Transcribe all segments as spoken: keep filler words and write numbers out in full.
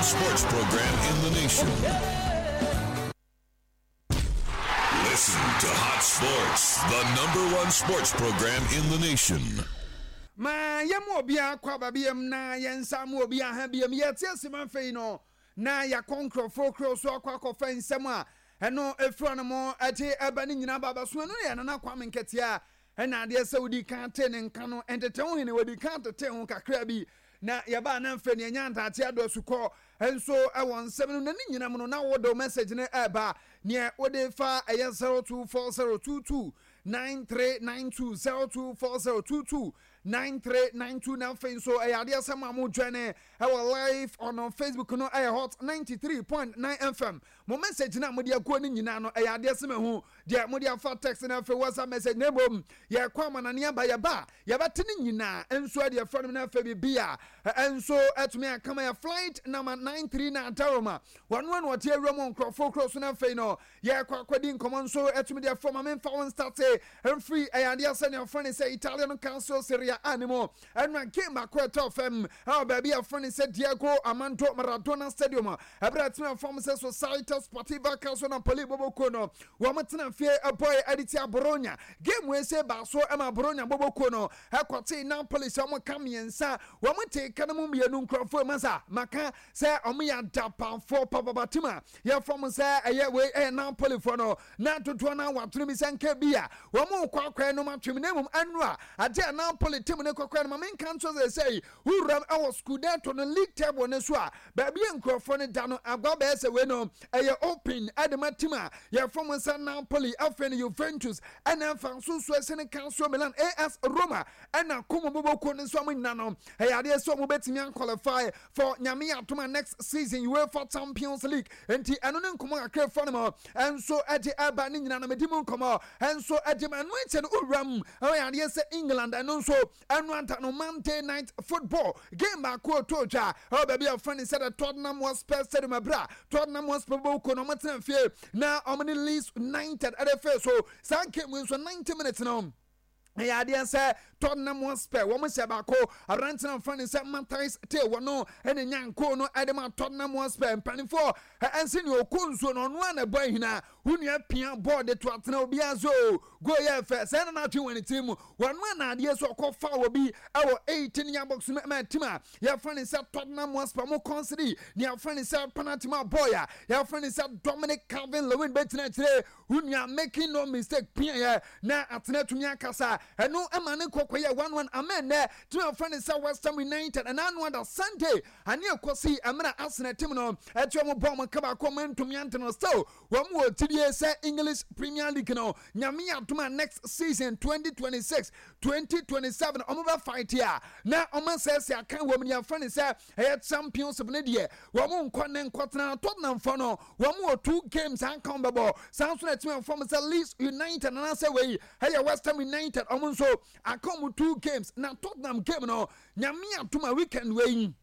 one sports program in the nation. Listen to Hot Sports, the number one sports program in the nation. Ma yɛmu obiara kɔ aba biam na yɛnsa mu obiara ha biam. Yɛte ase ma afei no na yɛakɔ nkurɔfoɔ kuro so akɔ akɔfa nsɛm a ɛno ɛfiri no mo ɛte ɛba ne nyinaa ba bɛso. Ɛno yɛ Nana Kwame Nketea ɛna adeɛ sɛ wodi kan te ne nka no ɛntete ho hene wodi kan tete ho kakra bi na yɛbaa na mfɛ ne ɛnya ntate adɔ asukɔ nso ɛwɔ nsɛm no na ne nyinaa mu no na wode message no ɛɛba neɛ wode fa ɛyɛ zero two four zero two two nine three nine two, zero two four zero two two nine three nine two. Na afei nso ɛyɛ adeɛ sɛ ma mo dwane ɛwɔ live on Facebook no, ɛyɛ Hot ninety-three point nine F M. Mo message na mode aguo no nyinaa no, ɛyɛ adeɛ sɛ mahu deɛ mode afa text na afei WhatsApp message, na mmom yɛkɔ amanane aba, yɛba a yɛbɛte no nyinaa nso ɛde ɛfrɛ no. Na afei biribi a ɛnso ɛtumi akama yɛ flight number ninety-three na adaroma wɔno ano ɔte awura mu nkurɔfoɔ kuro so. Na afei no yɛkɔ akɔdi nkɔmmɔ nso ɛtumi de ɛfrɛ ma memfa wo start mfiri. Ɛyɛ adeɛ sɛ nea ɔfrɛ ne sɛ Italian Calcio Serie A ne mu ɛno a game baako ɛtɔ fam ɛwɔ baabi a ɛfrɛ ne sɛ Diego Armando Maradona Stadium, ɛberɛ a ɛtena fam sɛ Società Sportiva Calcio Napoli bɔbɔkuo no wɔn tena fie ɛbɔɛ ɛde tia Bologna. Game wei sɛ baaso ɛma Bologna bɔbɔkuo no ɛkɔte Napoli sɛ wɔn ka mmiɛnsa, wɔn te ka no mu mmienu. Nkurɔfoɔ masa maka sɛ wɔn yɛ adapafoɔ papapa team a yɛfam sɛ ɛyɛ wei ɛyɛ Napolifoɔ no na dodoɔ no awatono bi sɛ nka bi a wɔn kɔ akɔɛ no atwem, na mmom ɛno a adeɛ a Napoli team ne kɔkɔɛ no ma menka nso sɛ sɛ wuram ɛwɔ Scudetto no league table no so a baabi a nkurɔfoɔ no da no agua bɛyɛ sɛ wei no ɛyɛ open ɛde ma team a yɛfam sɛ Napoli, afei no Juventus, ɛna afa nso so ɛsɛ ne Calcio Milan, A S Roma, ɛna Como bobɔkuo no nso. Ɔmo nyina no ɛyɛ adeɛ sɛ ɔmo bɛtumi aqualify for Nyame atoma next season UEFA Champions League. Nti ɛno ne nkɔmɔ kakra fa no mu ɛnso ɛde ɛba ne nyina no medi mu nkɔmɔ ɛnso ɛde ma ɛno nkyɛn no wuram. Ɛyɛ adeɛ sɛ England ɛno nso ɛno anta no Monday Night Football game baako oto dwa ɛwɔ baabi a wɔfrɛ no sɛ the Tottenham Hotspur Stadium, abira Tottenham Hotspur bɔɔko no ɔmo tena fie na ɔmo ne Leeds United ɛde fɛ so. Saa game nso ninety minutes no ɛyɛ adeɛ sɛ Tottenham Hotspur wɔn hyɛ baako. Aberante no nfa ne sɛ Mathys Tel wɔ no ɛna nyanko no ɛde ma Tottenham Hotspur. Mpanimfoɔ ɛnsi ne ɔkɔ nsuo no ɔno a na ɛbɔ ahina wo nua pia bɔɔl de to atena obiara so goal yɛ fɛ sɛ ɛna n'atwe wɔ ne tirim mu wɔn a na adeɛ so ɔkɔ fa wɔ bi ɛwɔ eighteen yard box mu ɛma team a yɛfrɛ ne sɛ Tottenham Hotspur mo concede ne yɛfrɛ ne sɛ penalty ma boy a yɛfrɛ ne sɛ Dominic Calvert-Lewin bɛgyina akyire. Wo nua making no mistake pia yɛ na atena tumi akasa, ɛno ɛma ne kɔkɔ yɛ one one. Amen. Nɛ team a yɛfrɛ ne sɛ West Ham United ɛna ano ada Sunday ane ɛkɔsi ɛmena Arsenal team no ɛte ɔmo bɔ ɔmo ka baako, ɔmo ntumi ante no. Still wɔn wɔ tidie sɛ English Premier League no, Nyame adom a, next season twenty twenty-six twenty twenty-seven ɔmo bɛ fight a na ɔmo asɛsɛ akan wɔ mu. Nea yɛfrɛ ne sɛ ɛyɛ Championship ne deɛ wɔn nkɔ ne nkɔtena. Tottenham fɔ no wɔn wɔ two games anka wɔn bɛbɔ. Saa nso na ɛtumi fam sɛ Leeds United anaasɛ wei ɛyɛ West Ham United, ɔmo nso aka wɔn two games. Na Tottenham game no, Nyame adom a, weekend wei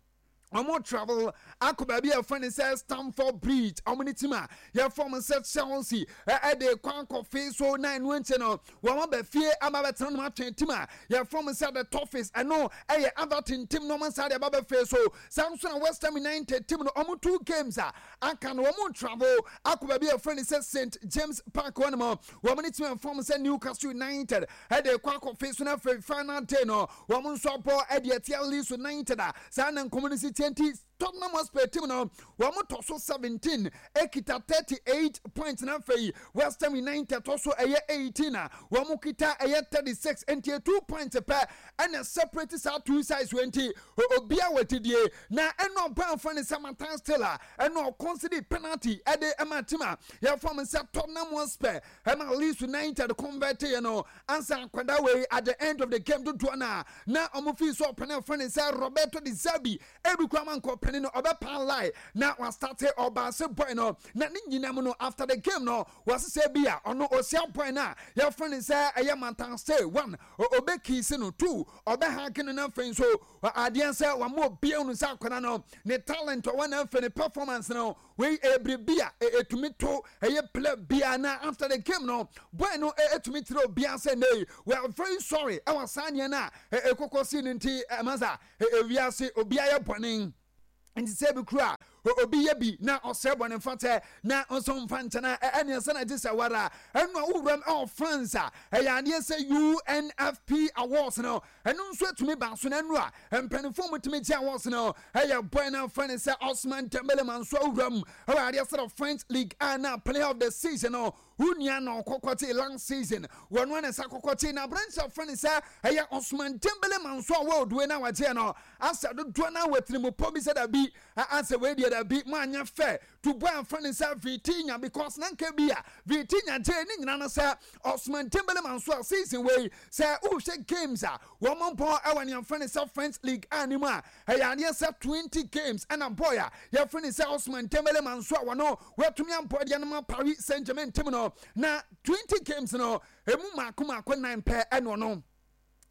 ɔmo travel akɔ baabi a yɛfrɛ no sɛ Stamford Bridge, ɔmo ne team a yɛfrɛ mo sɛ Chelsea ɛde kwan kɔfe so. Na ɛno nkyɛn no wɔn aba fie ama bɛtena no atwɛn team a yɛfrɛ mo sɛ the Toffees, ɛno ɛyɛ Everton team no, ɔmo nsa de aba bɛfie so. Saa nso na West Ham United team no, ɔmo two games a aka no, wɔn travel akɔ baabi a yɛfrɛ no sɛ Saint James Park hɔ nom, wɔn ne team a yɛfrɛ mo sɛ Newcastle United ɛde kɔ akɔfe so. Na afei final day no wɔn nso abɔ ɛde ɛtia Leeds United a saa na nkɔmɔ no si tie. Nti Tottenham Hotspur team no wɔn tɔ so seventeen ekita thirty eight points, na afei West Ham United tɔ so ɛyɛ eighteen a wɔn kita ɛyɛ thirty six. Nti two points pɛ ɛna separate saa two sides wɔ. Nti obiara wɔ tidie na ɛna ɔbɛnfo ne sɛ Mathys Tel a ɛna ɔconcede penalty ɛde ɛma team a yɛfɔ mo sɛ Tottenham Hotspur ɛma Leeds United convert yɛ no ansa akwadaa wei. At the end of the game dodoɔ na na wɔn fi so ɔpɛnɛ fɔ ne sɛ Roberto De Zerbi ebi kura ma nkɔ pɛni no ɔbɛpa line na wastart ɔbaase boy no. Na ne nyinaa mu no, after the game no, wɔasesɛ bi a ɔno osia boy no a yɛfrɛ no sɛ ɛyɛ Mathys Tel, one, ɔbɛkiss no, two, ɔbɛhug no. Na afei nso adeɛ sɛ wɔn obiara no sɛ akwadaa no ne talent ɔwɔ na afei ne performance no wei ɛyɛ biribi a ɛtumi to ɛyɛ play bia. Na after the game no, boy no ɛtumi kyerɛ obiara sɛ nee, we are very sorry ɛwɔ saa nneɛ no a ɛkɔkɔ si no. Nti ɛma sa ewiase obiara yɛ bɔne, nti sɛ bi kura Obi yɛ bi na ɔsɛ bɔ ne mfa na ɔnso mfa nkyɛn a, ɛne ɛsɛ na gye sɛ wara ɛno a wowuram ɛwɔ France a, ɛyɛ adeɛ sɛ U N F P awards no, ɛno nso atumi ba so. No ɛno a mpanimfoɔ mu tumi gye awards no, ɛyɛ boy no afrɛ ne sɛ Osman Dembele ma nso awuram ɛwɔ adeɛ sɛ the French League a na player of the season no, wonua na ɔkɔkɔte last season, wɔn ano nsa kɔkɔte. Na aberanteɛ afrɛ ne sɛ ɛyɛ Osman Dembele ma nso a world wei na wagyeɛ no, asɛ dodoɔ no awɔ tirimu pɔ bi sɛ dabi, asɛ wei deɛ dabi, mo anyɛ fɛ to boy afrɛ ne sɛ Vitinha, because na nka bi a Vitinha gye ne nyina no sɛ Osman Dembele ma nso a season wei sɛ wohwɛ games a wɔn mpɔ ɛwɔ ne yɛmfrɛ ne sɛ French League anim a, ɛyɛ adeɛ sɛ twenty games ɛna boy a yɛfrɛ ne sɛ Osman Dembele ma nso a wɔno wɔatumi ampɔ deɛ no ma Paris Saint Germain team no, na twenty games no emu mako mako nine pɛ ɛna ɔno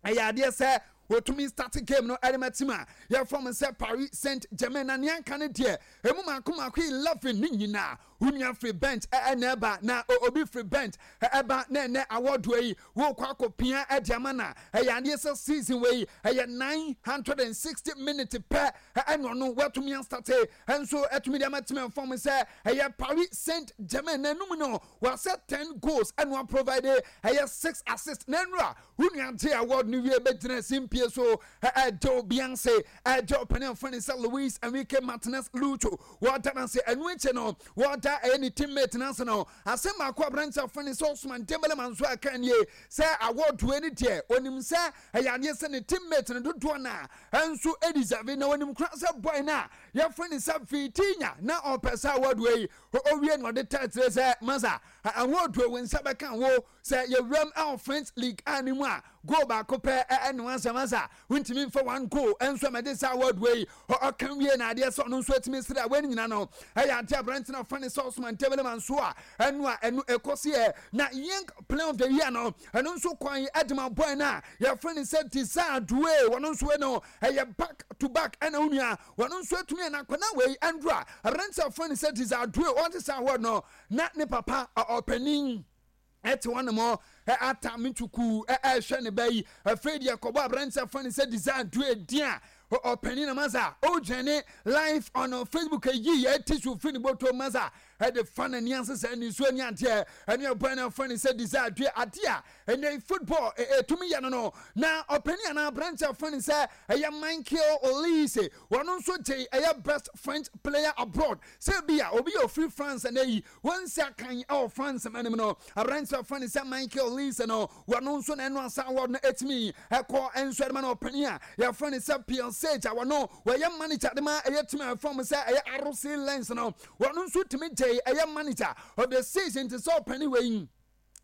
ɛyɛ adeɛ sɛ wɔtumi start game no ɛde ma team a yɛfrɛ mo sɛ Paris Saint Germain. Na nea nka no deɛ, emu mako mako eleven ne nyinaa wonua firi bench ɛna ɛba. Na obi firi bench ɛba na ɛnɛ awɔdoɔ yi wɔkɔ akɔpia ɛde ama na ɛyɛ adeɛ sɛ season wei ɛyɛ nine hundred and sixty minutes pɛ ɛna ɔno wɔatumi astart ɛnso ɛtumi de ama team ɛfɔm sɛ ɛyɛ Paris Saint Germain. Na enum no wɔasɛ ten goals ɛna wɔaprovide ɛyɛ six assists. Na enura wonua gye award no wie bɛgyina simpie so, ɛgye obi ase, ɛgye ɔpanin afɔ ne sɛ Luis Enrique Martinez Lucho, wɔda n'ase. Ɛno akyi no wɔda ɛyɛ ne teammate n'ase no, asɛm baako aberante afɔ ne sɛ Osman Dembele ma nso aka nie sɛ award wei ne deɛ, onim sɛ ɛyɛ adeɛ sɛ ne teammate no dodoɔ na ɛnso ɛdeserve, na onim kora sɛ boy no a yɛfrɛ ne sɛ Vitinha na ɔpɛ sɛ award wei owie na ɔde tɛtire sɛ masa award wei wo nsa bɛka wo sɛ yɛwuram ɛwɔ French League anim a, goal baako pɛ ɛne wansɛm asa wontumi mfa one goal ɛnso ɛmɛde sɛ award wei. Ɔka wie na adeɛ sɛ ɔno nso atumi sere a wɔn nyina no ɛyɛ ade aberante no afa ne sɛ Osman Dembele ma nso a ɛno a ɛno ɛkɔ so yɛ. Na young player of the year no, ɛno nso kwan ɛde ma boy no a yɛfrɛ ne sɛ Desire Doue. Wɔno nso no ɛyɛ back to back ɛna wo nua wɔno nso atumi ɛna akɔna wei ɛndro a aberante afrɛ ne sɛ Desire Doue ɔnte sɛ award no na ne papa ɔpanin ɛte hɔ nom ata me tuku ɛhwɛ ne ba yi. Afei deɛ kɔbɔ aberante afrɛ ne sɛ Desire Doue din a ɔpanin na masa ɔgyane live on Facebook yi yɛ tissue firi ne bɔtɔ masa ɛde fa n'ani ase sɛ nisuo ni adeɛ ɛne ɛbɔn no afrɛ ne sɛ Desire Doue adeɛ a ɛnɛ football ɛtumi yɛ no no Na ɔpanin anaa aberante afrɛ ne sɛ ɛyɛ Michael Olise, wɔn nso gye ɛyɛ best French player abroad, sɛ bi a obi yɛ ofiri France ɛnɛ yi wɔn nsi akan ɛwɔ France anim no, aberante afrɛ ne sɛ Michael Olise no, wɔn nso na ɛno asa award no ɛtumi ɛkɔ ɛnso ɛde ma no. Ɔpanin a yɛfrɛ ne sɛ Pierre Sage a wɔno wɔyɛ manager de ma ɛyɛ team a ɛfrɛ mo sɛ ɛyɛ R C Lens no, wɔn nso tumi gye ɛyɛ manager of the season. Te sɛ ɔpanin wei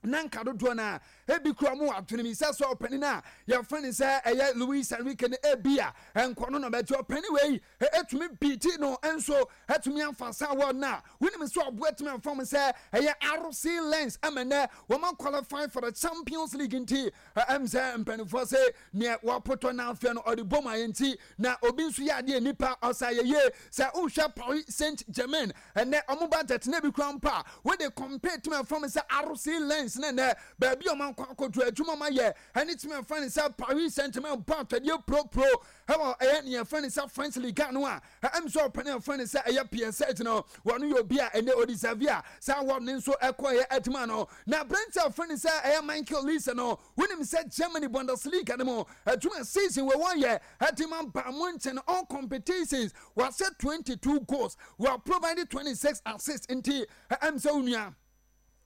na nka dodoɔ no a ebi kura mu adwene mi sɛ sɛ ɔpanin a yɛfrɛ ne sɛ ɛyɛ Luis Enrique no, ebi a nkɔ no na bɛgye. Ɔpanin wei etumi biiti no nso etumi afa sa award na wonim sɛ ɔbo etumi afa mu sɛ ɛyɛ R C Lens ɛmɛ nɛ wɔn qualify for the Champions League. Nti ɛm sɛ mpanimfoɔ sɛ nea wɔapotɔ n'afɛ no ɔde bom ayɛ. Nti na obi nso yɛ adeɛ nipa ɔsa yɛ yie sɛ wohwɛ Paris Saint Germain ɛnɛ ɔmo budget na ebi kura mpa a wode compare tumi afa mu sɛ R C Lens ne nɛ baabi a ɔmo akɔ akɔduru adwuma ɔmo ayɛ ɛne tumi afa ne sɛ Paris Saint Germain bɔ atɔdeɛ puropuro ɛwɔ ɛyɛ nea yɛfrɛ ne sɛ French Ligue no a, ɛm sɛ ɔpɛne yɛfrɛ ne sɛ ɛyɛ P S G no, wɔno yɛ obi a ɛnɛ ɔdeserve a saa award ne nso ɛkɔ ɛyɛ adwuma no. Na aberante a ɔfrɛ ne sɛ ɛyɛ Michael Olise no, wonim sɛ Germany Bundesliga no mu adwuma season wɔ wɔyɛ ɛde ma Bayern Munchen, all competitions wɔasɛ twenty-two goals, wɔ provide twenty-six assists. Nti ɛm sɛ wo nua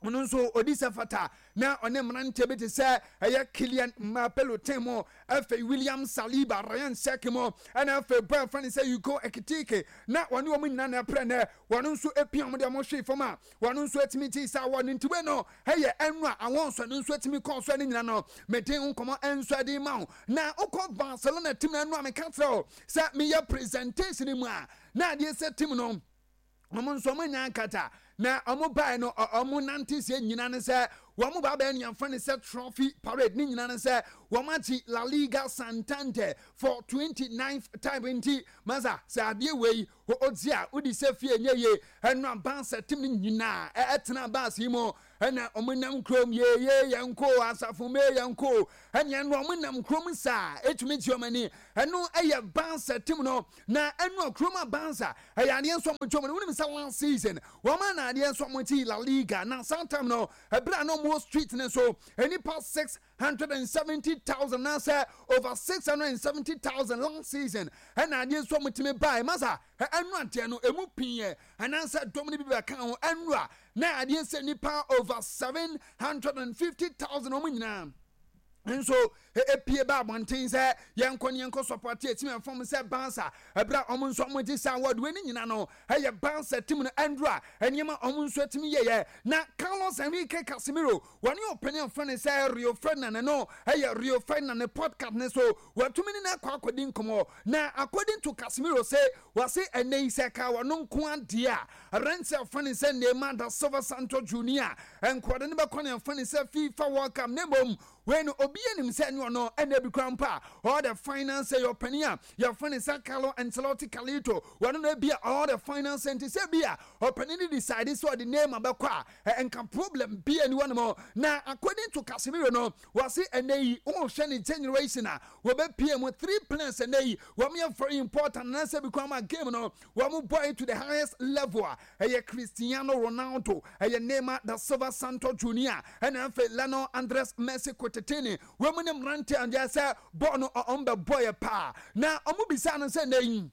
ɔno nso odi sɛ fata na ɔne mmeranteɛ bi te sɛ ɛyɛ Kylian Mbappe Lottin mu, afei William Saliba, Rayan Cherki mu, ɛna afei bɔɔl fɛn sɛ Hugo Ekitike, na wɔne wɔn nyinaa na ɛprɛ nɛ wɔn nso epia wɔn de wɔn hwee fam a wɔn nso etumi ti sa wɔ ne ntiwe no ɛyɛ ɛnu a awɔn nso no nso etumi kɔɔ so. Ɛne nyina no mede nkɔmɔ ɛnso ɛde ma wo. Na wokɔ Barcelona team na ɛnu a meka kyerɛ wo sɛ meyɛ presentation mu a, na adeɛ sɛ team no ɔmo nso ɔmo nya nkata na ɔmo bae no, ɔmo nante sie nyina ne sɛ Wɔn mo ba bɛyɛ nea nfa ne sɛ trophy parade ne nyinaa ne sɛ wɔn akyi La Liga Santander for twenty ninth time. Nti masa sɛ adeɛ wei ɔdzi a wodi sɛ fie nye yie. Ɛno a Barca team no nyinaa ɛtena bus yi mu ɛna ɔmo nam kurom yeye yɛn ko asafo mee yɛn ko ɛnea no ɔmo nam kurom saa etumi gye ɔmo ani. Ɛno ɛyɛ Barca team no na ɛno a kurom a Barca ɛyɛ adeɛ nso ɔmo twɛm no. Wɔnim sɛ last season wɔn ana adeɛ nso ɔmo ti La Liga na saa time no, ɛberɛ a na ɔmo wɔ street ne so nipa six hundred and seventy thousand na sɛ over six hundred and seventy thousand last season ɛna adeɛ nso ɔmo tumi baa. Masa ɛnu adeɛ no emu pii yɛ anaasɛ dɔm no bi bɛka ho. Ɛnu a na adeɛ sɛ nipa over seven hundred and fifty thousand ɔmo nyinaa nso epie ba abɔnten sɛ yɛnkɔ ne yɛnkɔ support etimi ɛfɔm sɛ Barca. Ɛberɛ a ɔmo nso ɔmo gye saa award wei ne nyina no, ɛyɛ Barca team no ɛndro a nneɛma ɔmo nso atumi yɛyɛ. Na Carlos Enrique Casemiro wɔne ɔpanin afrɛ ne sɛ Rio Ferdinand no, ɛyɛ Rio Ferdinand ne podcast ne so wɔatumi ne no akɔ akɔdi nkɔmmɔ. Na according to Casemiro, sɛ wɔse ɛnɛ yi sɛ ka wɔno nko adeɛ a aberanteɛ afrɛ ne sɛ Neymar da Silva Santos Junior nkɔde no bɛkɔ ne afrɛ ne sɛ FIFA World Cup. Ne mmom wei no obi anim sɛ ne ɔno ɛna bi kora mpo a ɔwɔ the finance yɛ ɔpanin a yɛfrɛ ne sɛ Carlo Ancelotti Carlito, wɔno no bi a ɔwɔ the finance. Nti sɛ bi a ɔpanin no decide sɛ ɔde Neymar bɛkɔ a, nka problem bi ani wɔ no mu. Na according to Casemiro no, wɔse ɛnɛ yi wɔhwɛ ne generation a wɔbɛpie mu, three players ɛnɛ yi wɔn yɛ very important anaasɛ bi kora ma game no wɔn bɔ to the highest level a ɛyɛ Cristiano Ronaldo, ɛyɛ Neymar da Silva Santos Junior, ɛna afei Lionel Andres Messi Kotetene. Wɔn mu ne mmerante a sɛ bɔɔl no ɔn bɛ bɔ yɛ paa. Na ɔmo bisa no sɛ nɛ yi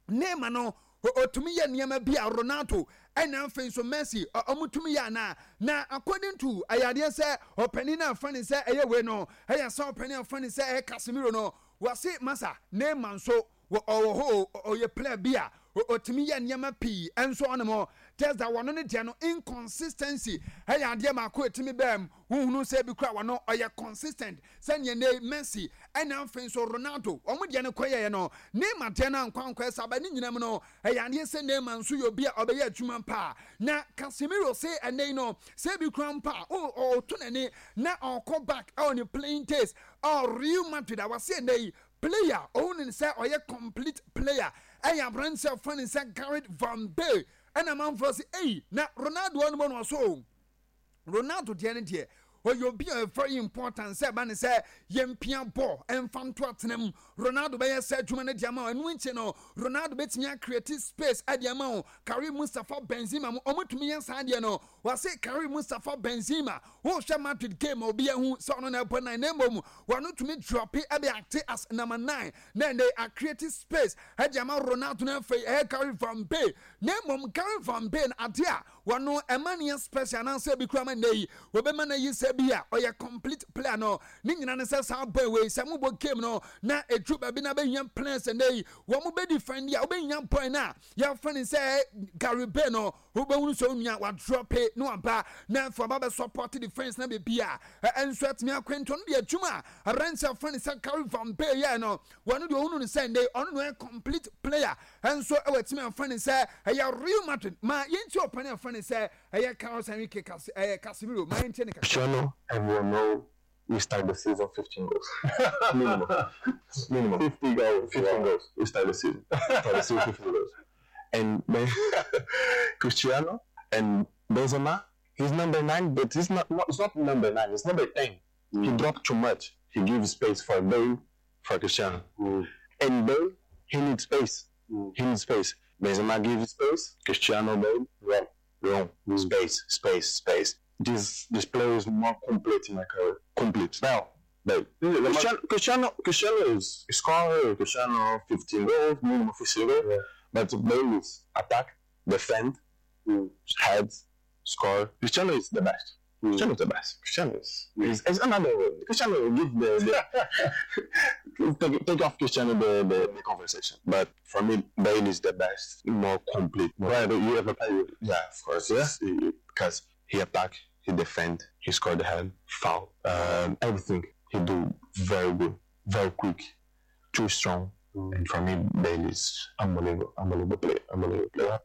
Neymar no ɔtumi yɛ nneɛma bi a Ronaldo ɛna afei nso Messi ɔmo tumi yɛ anaa. Na according to ayadeɛ sɛ ɔpanin no afa ne sɛ ɛyɛ wei no, ɛyɛ sɛ ɔpanin afa ne sɛ ɛyɛ Casemiro no, wɔse masa Neymar nso ɔwɔ hɔ, ɔyɛ player bi a ɔtumi yɛ nneɛma pii ɛnso ɔnom just that wɔno ne deɛ no inconsistency ɛyɛ adeɛ baako ɛtumi bɛm huhunu sɛ bi kora wɔno ɔyɛ consistent sɛneɛ ne Messi ɛna afei nso Ronaldo wɔn deɛ no kɔyɛɛ no, Neymar deɛ no ankɔ ankɔ ɛsɛ aba ne nyinam no. Ɛyɛ adeɛ sɛ Neymar nso yɛ obi a ɔbɛyɛ adwuma paa. Na Casemiro se ɛnɛ yi no sɛ bi kora mpa a ɔto n'ani na ɔkɔ back ɛwɔ ne playing days ɔ Real Madrid a, wɔse ɛnɛ yi player ɔhu ne sɛ ɔyɛ complete player ɛyɛ aberanteɛ a ɔfa ne sɛ Gareth Van Bale. Ɛna amanfoɔ sɛ ei, na Ronaldo ɔno mu no ɔso Ronaldo deɛ no deɛ ɔyɛ obi a very important sɛ ɛba ne sɛ yɛmpia ball ɛmfa nto atena mu, Ronaldo bɛyɛ sɛ adwuma no de ama wo. Ɛno nkyɛ no Ronaldo bɛtumi acreate space ɛde ama wo. Karim Mustafa Benzema mu ɔmotumi yɛ saa deɛ no. Wɔse Karim Mustafa Benzema, wohwɛ Madrid game a obi ahu sɛ ɔno na ɛbɔ nine, na mmom wɔno tumi drop ɛde act as number nine na ɛnɛ acreate space ɛde ama Ronaldo no. Afei ɛyɛ Gary Van Bay, na mmom Gary Van Bay no adeɛ a wɔno ɛma ne yɛ special anaasɛ bi kura ma nnɛ yi wɔbɛma no yi sɛ bi a ɔyɛ complete player no ne nyina ne sɛ saa boy wei sɛ mobɔ game no na ɛduru baabi na bɛhia players nnɛ yi wɔn mo bɛdi defend a, wobɛhia boy no a yɛfrɛ ne sɛ Gary Bay no, wobɛhunu sɛ onua wadrop na waba na afei ɔba bɛ support defense na baabi a ɛnso atumi akwento no deɛ adwuma a aberanteɛ afrɛ ne sɛ Gary Van Bay yɛ no, wɔno deɛ ɔhunu no sɛ nnɛ ɔno no yɛ complete player ɛnso ɛwɔ atumi afrɛ ne sɛ ɛyɛ Real Madrid. Ma yɛnti ɔpani afrɛ ne sɛ ɛyɛ Carlos Enrique Cas ɛyɛ Casemiro, ma yɛntie ne kakra. Cristiano, everyone know we start the season fifteen goals. Minimum. Minimum. fifty goals. fifteen wow. goals. We start the season. Start the season fifteen goals. And then Cristiano and Benzema, he's number nine, but he's not, not it's not number nine, it's number ten. He dropped too much. He gives space for Bale, for Cristiano. Mm. And Bale, he needs space. Mm. He needs space. Benzema gives space. Cristiano, Bale, run, run, space, space, space. This this player is more complete in my career. Complete. Now, Bale. Cristiano, Cristiano, Cristiano is scorer. Cristiano, fifteen goals, minimum fifteen goals. Yeah. But Bale is attack, defend, Mm. head, score. Cristiano is the best. Mm. Cristiano is the best. Cristiano is, is, is another one. Cristiano will give the, the take, take off Cristiano the, the, the conversation. But for me, Bale is the best, more complete. More, Right, but you ever play with? Yeah, of course. Yeah? He- Because he attack, he defend, he scored the head, foul, um, everything. He do very good, very quick, too strong. And for me, Bale is unbelievable, unbelievable player, unbelievable player.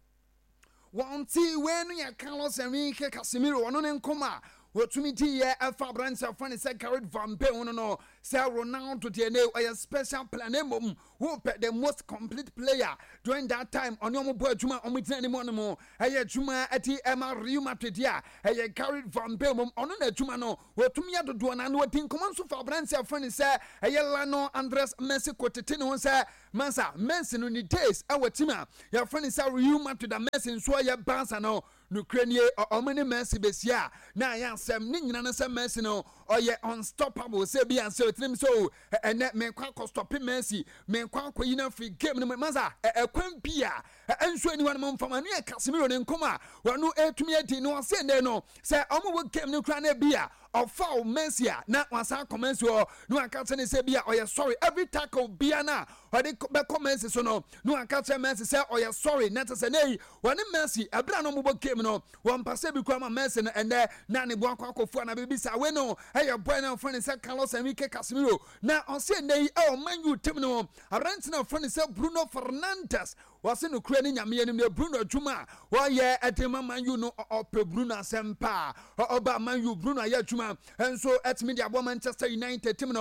Wɔn ti wei no yɛ Carlos Enrique Casemiro, ɔno ne nkɔm a Wɔtumi diiɛ ɛfa aberanteɛ fa ne sɛ Gareth van Been no no sɛ Ronaldo deɛ ne ɔyɛ special player, na mmom wopɛ the most complete player during that time ɔne ɔmo bɔ adwuma, ɔmo gyina anim ɔno ɛyɛ adwuma ɛti ɛma Real Madrid a ɛyɛ Gareth van Been mom. Ɔno na adwuma no wɔtumi yɛ dodoɔ na na wɔdi nkɔmɔ nso fa aberanteɛ fa ne sɛ ɛyɛ Lionel Andres Messi kotete ne ho sɛ mansa Messi no ne days ɛwɔ team a yɛfrɛ ne sɛ Real Madrid a Messi nso ɔyɛ Barca no. Nokura nie, ɔmo ne Messi besia a na ayɛ asɛm ne nyina no sɛ Messi no ɔyɛ unstoppable, sɛ bi ansɛ otirim sɛ o ɛnɛ menkɔ akɔ stop Messi, menkɔ akɔ yi no afiri game no mu masa ɛkwan bi a ɛnso aniwa no mfama no yɛ Casemiro ne nkɔm a wɔno ɛtumi adi na ɔsɛ nnɛ no sɛ ɔmo wɔ game no kora no bi a ɔfa Messi a na wasan akɔ Messi hɔ na waka kyerɛ ne sɛ bi a ɔyɛ sorry. Every tackle bia no a ɔde bɛkɔ Messi so no, na waka kyerɛ Messi sɛ ɔyɛ sorry, na kyerɛ sɛ ne wɔne Messi ɛberɛ a na ɔmobɔ game no wɔmpa sɛ bi kora ma Messi no ɛnɛ na ne bo akɔ akɔfu ana biribi saa. Wei no ɛyɛ boy no ɔfrɛ ne sɛ Carlos Enrique Casemiro. Na ɔsɛ nnɛ yi ɛwɔ Man U team no, aberante no ɔfrɛ ne sɛ Bruno Fernandes, wɔse no kura ne Nyame anim ne Bruno adwuma a wɔyɛ ɛde ma Man U no, ɔpɛ Bruno asɛm paa. Ɔba Man U, Bruno ayɛ adwuma nso ɛtumi de aboa Manchester United team no.